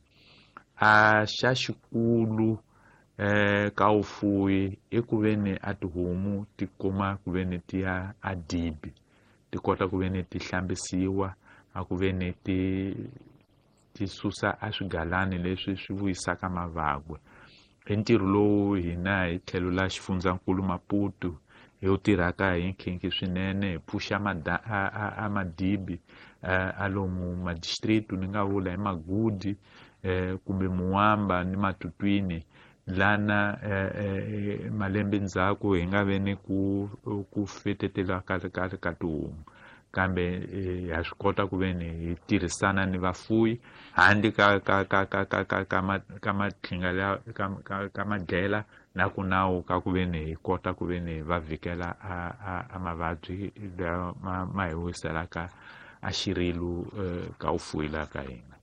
S2: a xa xikulu ka vufuwi i ku ve ni a tihomu ti kuma ku ve ni ti ya a dibi, ti kota ku ve ni ti hlambisiwa, a ku ve ni ti susa a swigalani leswi swi vuyisaka mavabyi. I ntirho lowu hina hi tlhelo la xifundzankulu Maputo hi wu tirhaka hi nkhinkhi swinene, hi pfuxa a madibi, a lomu madistrict, ni nga vula hi Magudi, kumbe Muwamba ni Matutwini, lana malembe ndzhaku hi nga ve ni ku fetetela ka tihomu, kambe ha swi kota ku ve ni hi tirhisana ni vafuwi handle ka ka ka ka ka ka ka ma, ka matlhinga la, ka, ka, ka madlela na ku nawu ka ku ve ni hi kota ku ve ni va vhikela a mavabyi lawa ma hi wiselaka a xirilu ka vufuwi la ka hina.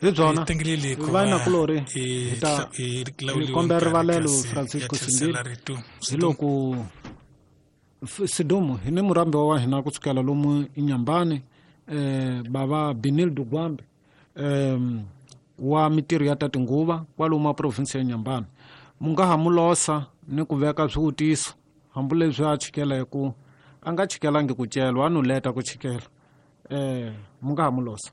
S3: Hi byona.
S4: Hi tengeleli ku
S3: Va
S4: va
S3: na kulorhi,
S4: hi
S3: hi ta
S4: hi
S3: hi
S4: lawuliwe
S3: kombela
S4: nkarhi
S3: rivalelo
S4: kasi
S3: Francisco
S4: ya tlherisela
S3: Simbili.
S4: rito.
S3: Hi loko Sidumo hi ni murhambi wa hina kusukela lomu Inhambane, bava Benildo Gwambe, wa mitirho ya ta tinguva kwalomu a province ya Inhambane. Mu nga ha mu losa ni ku veka swivutiso hambileswi a chikela hi ku a nga chikelangi ku celwa, a no leta ku chikela. Mu nga ha mu losa.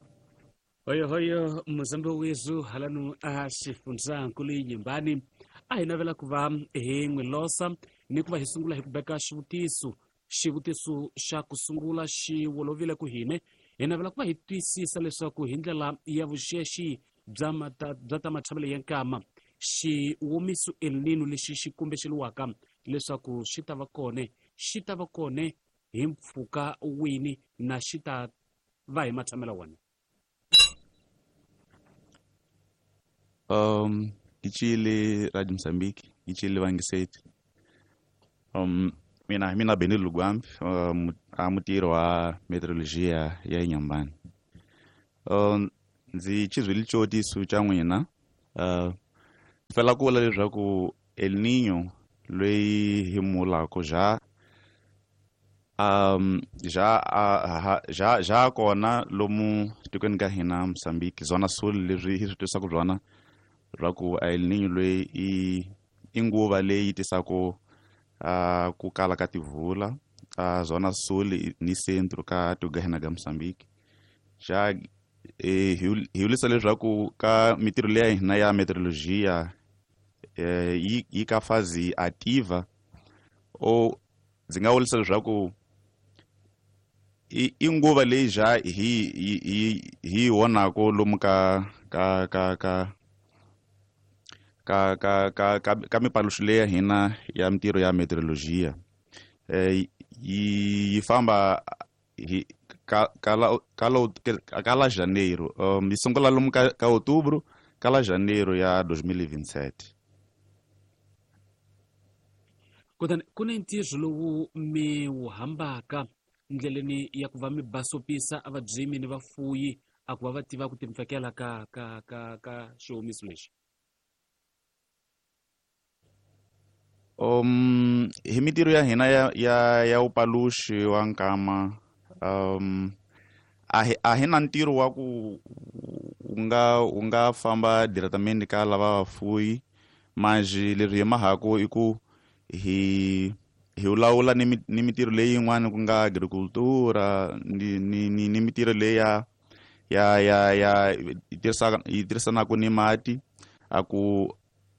S1: Hoyo hoyo muzambi wezu halanu a xifundzankulu Inhambane, a hi navela ku va hi n'wi losa ni ku va hi sungula hi ku veka xivutiso. Xivutiso xa ku sungula xi wolovile ku hine hi navela ku va hi twisisa leswaku hi ndlela ya vuxexi bya mata, bya ta matshamelo ya nkama, xiwomiso El Nino lexi xi kumbexeriwaka leswaku xi ta va kone, xi ta va kone hi mpfhuka wini na xi ta va hi matshamelo wona?
S5: Ke tšeele Radio Mozambique, ke tšeele Bangiseti. Mina hi mina Benny Lugwambi, a mutirhi wa meteorologia ya Inhambane. Ndzi xizwile xivutiso xa n'wina. Fela ku vula leswaku El Niño loyi hi mulaka ja ja kona lomu tikweni ka hina Mozambique, Zona Sul, leswi hi swi twisaka byona swa ku El Niño loyi i nguva leyi tisaka ku kala ka tivula Zona Sul ni Centro ka tiko ka hina ka Mozambique. Xa hi vulisa leswaku ka mitirho leya hina ya meteorologia yi ka fazi ativa, o ndzi nga vurisa leswaku i nguva leyi ja hi vonaka lomu ka ka ka ka ka ka ka ka ka mipaluxo leya hina ya mitirho ya meteorologia. Yi famba hi ka ka la janeiro, yi sungula lomu ka outubro ka la janeiro ya 2027.
S1: Kutani ku ni ntirho lowu mi wu hambaka ndleleni ya ku va mi basopisa a vabyimi ni vafuyi a ku va va tiva ku timpfekela ka ka ka ka xihomiso lexi.
S5: Hi mitirho ya hina ya upaluxi wa nkama, a hi na ntirho wa ku u nga famba diretamente ka lava vafuyi, mas leswi hi mahaku i ku hi lawula ni mitirho leyi yin'wana ku nga agricultura ni mitirho leyi ya yi tirhisanaka ni mati, a ku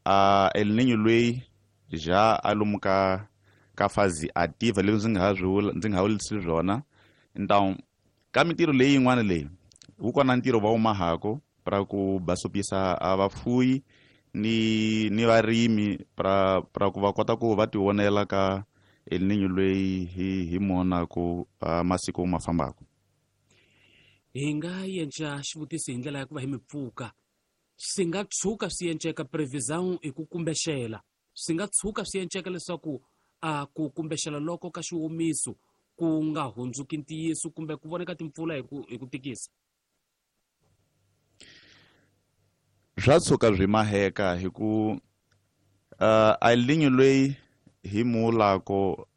S5: a El Niño loyi ja a lomu ka fazi ativa leswi ndzi nga ha swi ndzi nga ha vulisi swona. Então ka mitirho leyi yin'wana leyi wu kona ntirho va wu mahako pra ku basopisa a vafuyi ni varimi pra ku va kota ku va tivonela ka El Niño loyi hi monaku masiku ma fambaka.
S1: Hi nga yenca xivutiso hi ndlela ya ku va hi mi pfuka, swi nga tshuka swi enceka previsão hi ku kumbexela, swi nga tshuka swi enceka leswaku a ku kumbexela loko ka xiwomiso ku nga hundzuki ntiyiso kumbe ku voneka timpfula hi ku tikisa.
S5: Swa tshuka swi maheka hi ku El Niño loyi hi mulako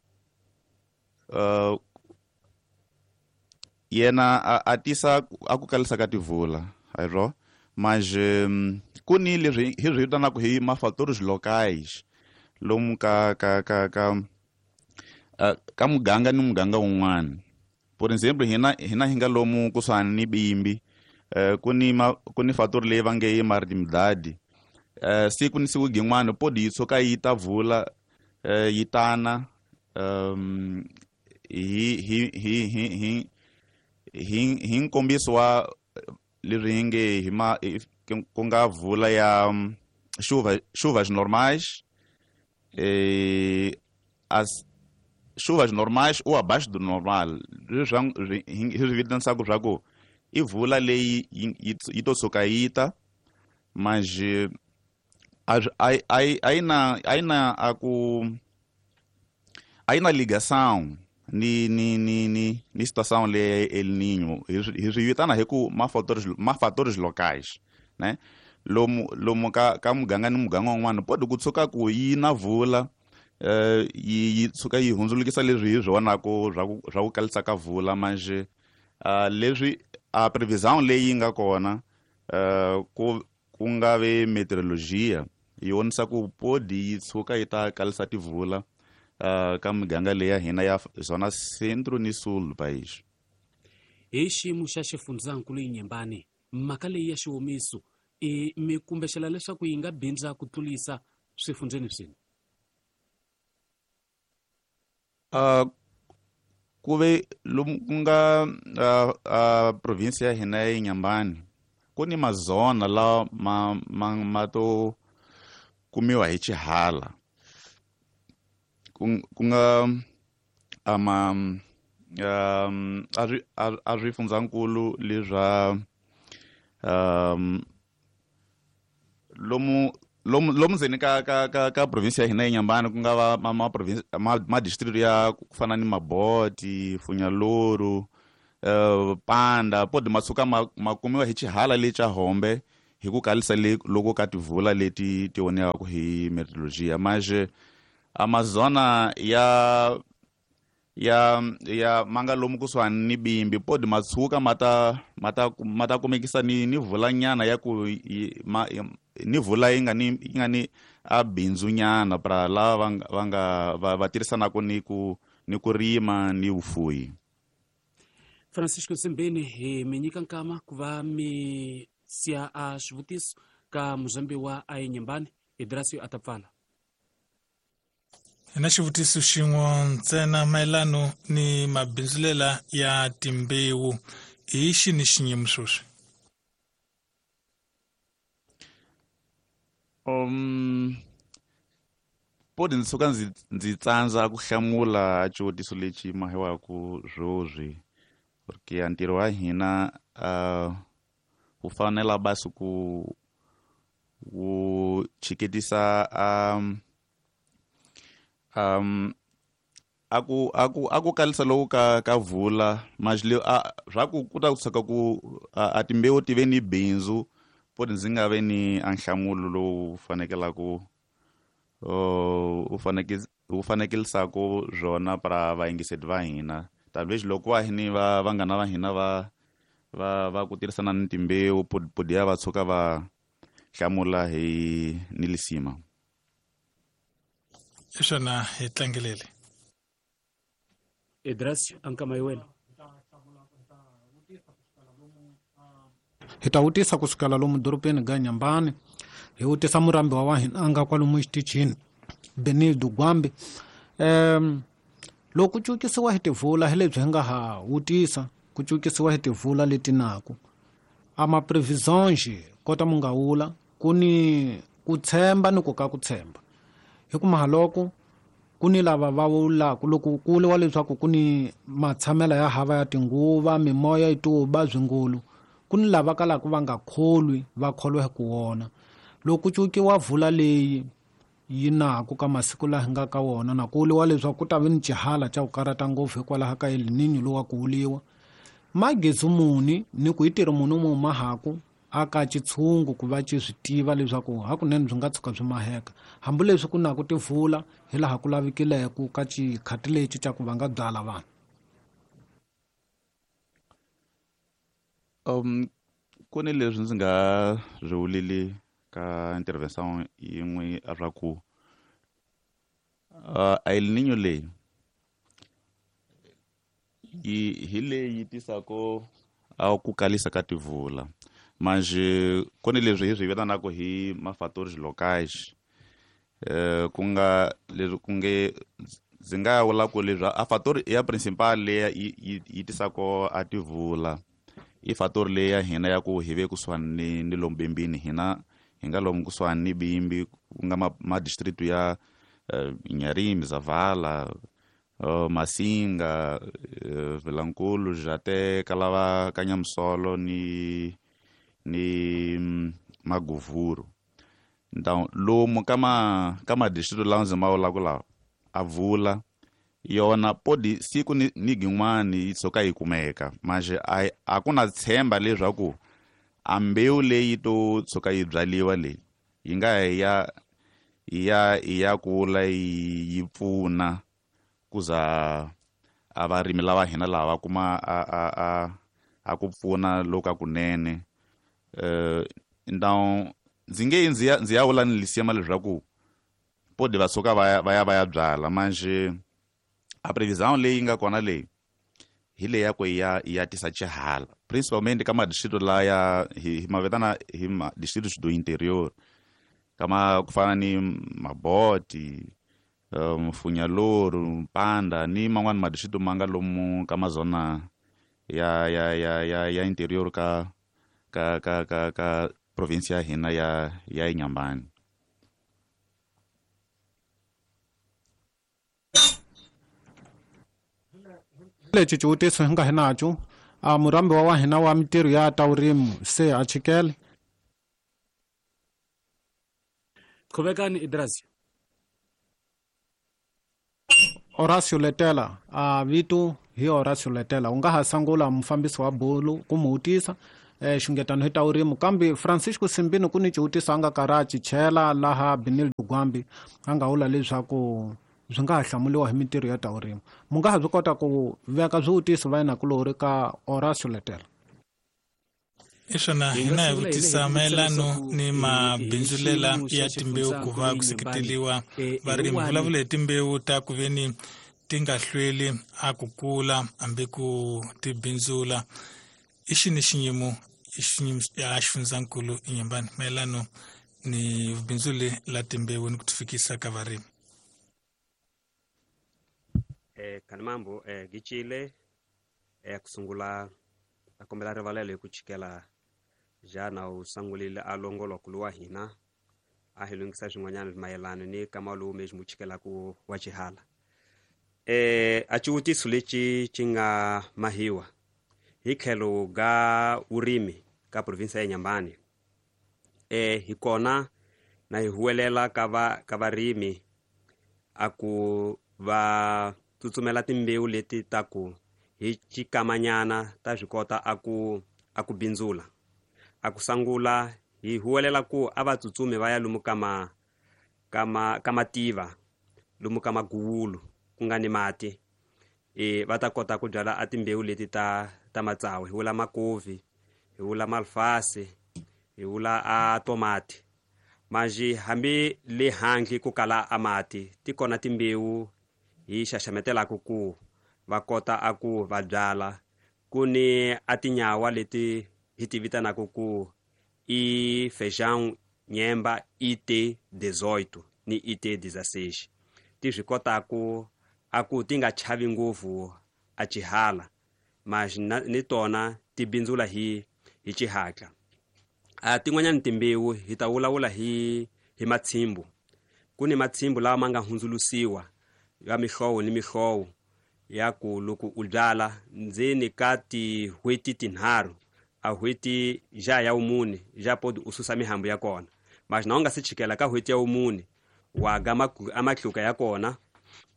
S5: yena a tisa a ku kalisa ka tivula ayro, mas ku ni leswi hi swi vitanaka hi ma-fatores locais lomu ka ka ka ka ka muganga ni muganga wun'wana. Por exemplo, hina hi nga lomu kusuhani ni Bimbi, ku ni fator leyi va nge i marimdadi. Siku ni siku gin'wana podi yi tshuka yi ta vula, yi tana hi hi nkombiso wa leswi hi nge hi ma ku nga vula ya chuvas normais, as chuvas normais ou abaixo do normal, leswi hi swi vitanisaka swa ku i vula leyi yi to tshuka yi ta, mas a yi na a ku a yi na ligação ni situação leyi El Niño. Hi swi vitana hi ku ma-fatores locais, né? Lomu ka muganga ni muganga wun'wana podi ku tshuka ku yi na vula, yi tshuka yi hundzulukisa leswi hi swi vonaka swa ku kalisa ka vula, mas leswi a previsão leyi nga kona ku nga ve meteorologia yi vonisa ku podi yi tshuka yi ta kalisa tivula ka miganga leyi ya hina ya Zona Centro ni Sul do país.
S1: Hi xiyimo xa xifundzankulu Inhambane, mhaka leyi ya xiwomiso i mi kumbexela leswaku yi nga bindza ku tlulisa swifundzeni swini?
S5: Ku ve lomu ku nga province ya hina ya Inhambane ku ni mazona lawa ma to kumiwa hi xihala, ku nga ama a swifundzankulu leswa lomu Lomu ndzeni ka province ya hina Inhambane, ku nga va ma province ma district ya ku fana ni Maboti, Funyaluru, Panda, podi ma tshuka ma kumiwa hi xihala le xa Hombe hi ku kalisa le loko ka tivula leti ti onhiwaka hi meteorologia. Manje Amazona ya ya ya manga lomu kusuhani ni Bimbi, podi ma tshuka ma ta kumekisa ni vulanyana ya ku ni vula yi nga ni a bindzunyana pra lava va nga va tirhisanaka ni ku rima ni vufuyi.
S1: Francisco Nsimbeni, hi mi nyika nkama ku va mi siya a swivutiso ka muzambiwa a Inhambane. Idrasio a ta pfala.
S4: Hi na xivutiso xin'we ntsena mayelano ni mabindzulela ya timbewu. Hi xini xiyimo sweswi?
S5: Podi ndzi suka ndzi tsandza ku hlamula xivutiso lexi mahiwaku swoswi, porque ntirho wa hina wu fanela basi ku wu chiketisa aku kalisa loku ka vula manje a swa ku ku ta kusuka ku a timbewu ti ve ni bindzu. Podi ndzi nga ve ni a nhlamulo lowu fanekelaku u fanekelisaka swona para vayingiseri va hina, tanihileswi loko va ni va vanghana va hina va ku tirhisana ni timbewu, podi ya va tshuka va hlamula hi ni lisima.
S4: Hi swona, hi tlangelele.
S1: Idrasio, ankama wena.
S3: Hi ta vutisa kusukela lomu dorobeni ga Nyambani, hi vutisa murambiwa wa hina a nga kwalomu xitichini, Benildo Gwambi. Loko ku cukisiwa hi tivula, hi lebyi hi nga ha vutisa ku cukisiwa hi tivula leti naku a ma previsões kota mu nga wula ku ni ku tshemba ni ku ka ku tshemba, hi ku mahaloko ku ni lava va vulaka loko ku vuriwa leswaku ku ni matshamelo ya hava ya tinguva, mimoya yi tuba swingulu, ku ni lava kalaka va nga kholwi, va kholwa hi ku wona. Loko ku cukiwa vula leyi yi naku ka masiku laha hi nga ka wona, na ku vuriwa leswaku ku ta vi ni xihala xa ku karata ngopfu hikwalaho ka El Niño lowa ku vuliwa magezi muni, ni ku hi tirhi muni mu mahaku aka xitshungu ku va xi swi tiva leswaku hakunene byi nga tshuka byi maheka, hambileswi ku naku tivula hi laha ku lavikileke ka xikhati lexi xa ku va nga byala vanhu?
S5: Ku ni leswi ndzi nga swi vulili ka intervention yin'we swa ku El Niño leyi yi hi leyi tisako a ku kalisa ka tivula. Manje ku ni leswi hi swi vitanaka hi ma-fatores locais, ku nga leswi ku nge ndzi nga vula ku leswi a fator ya principal leyi yi tisako a tivula i fator leyi ya hina ya ku hi ve kusuhani ni lomu Bimbini. Hina hi nga lomu kusuhani ni Bimbi, ku nga ma district ya Inharime, Zavala, Masinga, Vilankulu, Jate, Kalava, Kanyamusolo ni Maguvuru. Então lomu ka ma district lawa ndzi ma vulaka lawa, a vula yona podi siku ni gin'wani yi tshuka yi kumeka. Manje a ku na tshemba leswaku a mbewu leyi to tshuka yi byaliwa leyi yi nga ya kula yi pfuna kuza a varimi lava hina lava va kuma a ku pfuna loku a kunene. Então ndzi nge ndzi ya vula ni lisima leswaku podi va suka va ya byala. Manje a previsão leyi nga kona leyi hi leyi ya ku ya tisa xihala principalmente ka madistrito laya hi ma vitana hi ma distritos do interior, kama ku fana ni Maboti, Funyaluru, Mpanda ni man'wani madistrito ma nga lomu ka mazona ya interior ka province ya hina ya Inhambane.
S3: Lexi xivutiso hi nga hi naco a murambiwa wa hina wa mintirho ya ta vurimi se a chikele.
S1: Qhubekani Idrazio.
S3: Horacio Letela, a vito hi Horacio Letela, u nga ha sangula mufambisi wa bulu ku mu vutisa xungetano hi ta vurimi, kambe Francisco Simbini ku ni xivutiso a nga karhi a chichela laha Benildo Gwambi a nga vula leswaku swi nga ha hlamuliwa hi mintirho ya ta vurimi. Mu nga ha swi kota ku veka swivutiso va yinakulori ka Horacio Letela.
S4: I swona
S1: Hi nga
S4: hina hi
S1: sungula hi
S4: vutisa
S1: le hi vutisa
S4: mayelano
S1: leswaku
S4: ni
S1: hi
S4: mabindzulela
S1: xiyimo xa
S4: ya timbewu ku va
S1: xifundzankulu
S4: ku
S1: Inhambane
S4: seketeriwa
S1: hi
S4: varimi.
S1: wani
S4: Vulavula hi timbewu ta ku veni ti nga hlweli a ku kula hambi ku ti bindzula. I xini xiyimo ya xifundzankulu Inhambane mayelano ni vubindzuli la timbewu ni ku ti fikisa ka varimi?
S6: Khanimambo, Gicile, kusungula a kombela rivalelo hi ku chikela jana u sangulile a longoloko lowa hina a hi lunghisa swin'wanyana mayelana ni kama lowu mesmo wu chikelaku wa xihala. A xivutiso lexi xi nga mahiwa hi tlhelo ga vurimi ka province ya Inhambane, hi kona na hi huwelela ka varimi a ku va tsutsumela timbewu leti ta ku hi xikamanyana ta swi kota a ku bindzula. A ku sangula hi huwelela ku a va tsutsumi va ya lomu ka ka mativa, lomu ka maguwulu ku nga ni mati, va ta kota ku byala a timbewu leti ta matsawu. Hi vula makovi, hi vula malfasi, hi vula a tomati. Manjhe hambi le handle ku kala a mati, ti kona timbewu hi xaxametelaka ku va kota a ku va byala. Ku ni a tinyawa leti hi ti vitanaka ku i feijão nyemba IT 18 ni IT 16, ti swi kotaku a ku ti nga chavi ngopfu a xihala, mas ni tona ti bindzula hi xihatla. A tin'wanyani timbewu hi ta vulavula hi matshimbu. Ku ni matshimbu lawa ma nga hundzulusiwa ya mihlovo ni mihlovo ya ku loko u byala ndzeni ka tin'hweti tinharhu a n'hweti ja ya vumune ja podi u susa mihambu ya kona. Mas na u nga se chikela ka n'hweti ya vumune wa ga a matluka ya kona.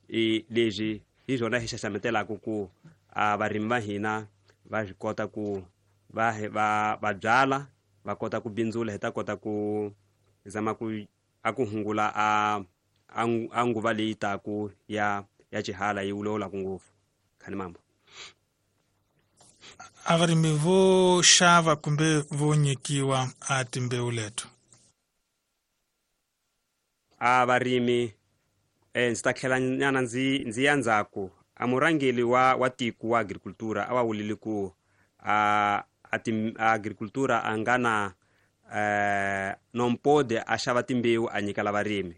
S6: Leswi hi swona hi xaxametelaka ku a varimi va hina va swi kota ku va byala, va kota ku bindzula, hi ta kota ku zama ku a ku hungula a nguva leyi taku ya xihala yi wulawulaka ngopfu. Khanimambo.
S4: A varimi vo xava kumbe vo nyikiwa a timbewu leto?
S6: A varimi, ndzi ta tlhela nyana ndzi ya ndzhaku. A murhangeri wa tiko wa agricultura a va vulile ku a agricultura a nga na nompode a xava timbewu a nyikela varimi.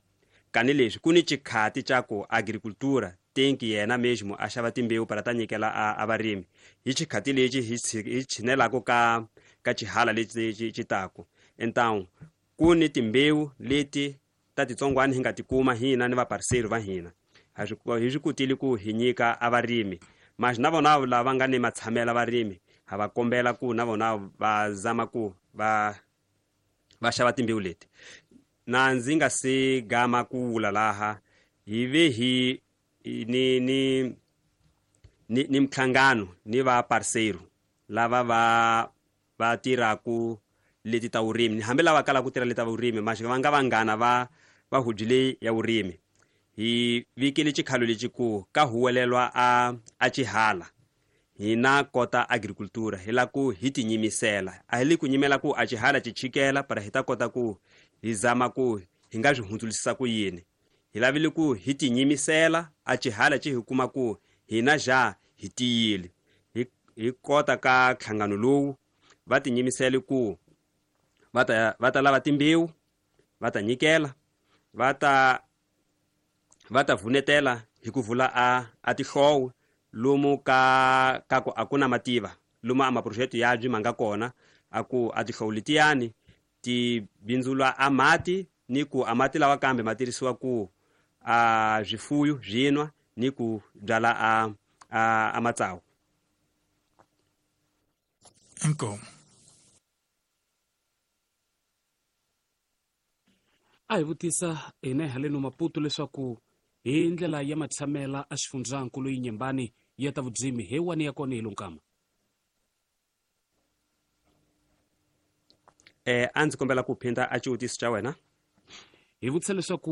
S6: Kani leswi ku ni xikhati xa ku agricultura tenki yena mesmo a xava timbewu para ta nyikela a varimi. Hi xikhati lexi hi tshinelaka ka xihala lexi xi taku. Então ku ni timbewu leti ta titsongwana hi nga tikuma hina ni vaparceiros va hina. Hi swi kotile ku hi nyika a varimi. Mas na vona lava nga ni matshamela varimi ha va kombela ku na vona va zama ku va xava timbewu leti. Na ndzi nga se gama ku vula laha hi ve hi ni minhlangano ni va parceiro lava va tirhaku leti ta vurimi, hambi lava kalaka ku tirha leti ta vurimi, mas va nga vanghana va huji leyi ya vurimi. Hi vikile xikhalo lexi ku ka huwelelwa a xihala hina kota agricultura hi la ku hi tinyimisela. A hi le ku nyimela ku a xihala xi chikela para hi ta kota ku hi zama ku hi nga swi hundzulisisa ku yini. Hi lavile ku hi tinyimisela a xihala xi hi kuma ku hina ja hi tiyile. Hi kota ka nhlangano lowu va tinyimisele ku va ta lava timbewu, va ta nyikela, va ta vunetela hi ku vula a tihlowo lomu ka ku a ku na mativa, lomu a maproject ya byi ma nga kona a ku a tihlowo letiyani ti bindzula a mati, ni ku a mati lawa kambe ma tirhisiwa ku a swifuyo swi nwa ni ku byala a matsawu.
S4: Inkomu.
S1: A hi vutisa hina haleno Maputo leswaku hi ndlela ya matshamela a xifundzankulu Inhambane ya ta vudzimi he wani ya kona hi lonkama.
S6: A ndzi kombela ku phinda a xivutiso xa wena.
S1: Hi vutisa leswaku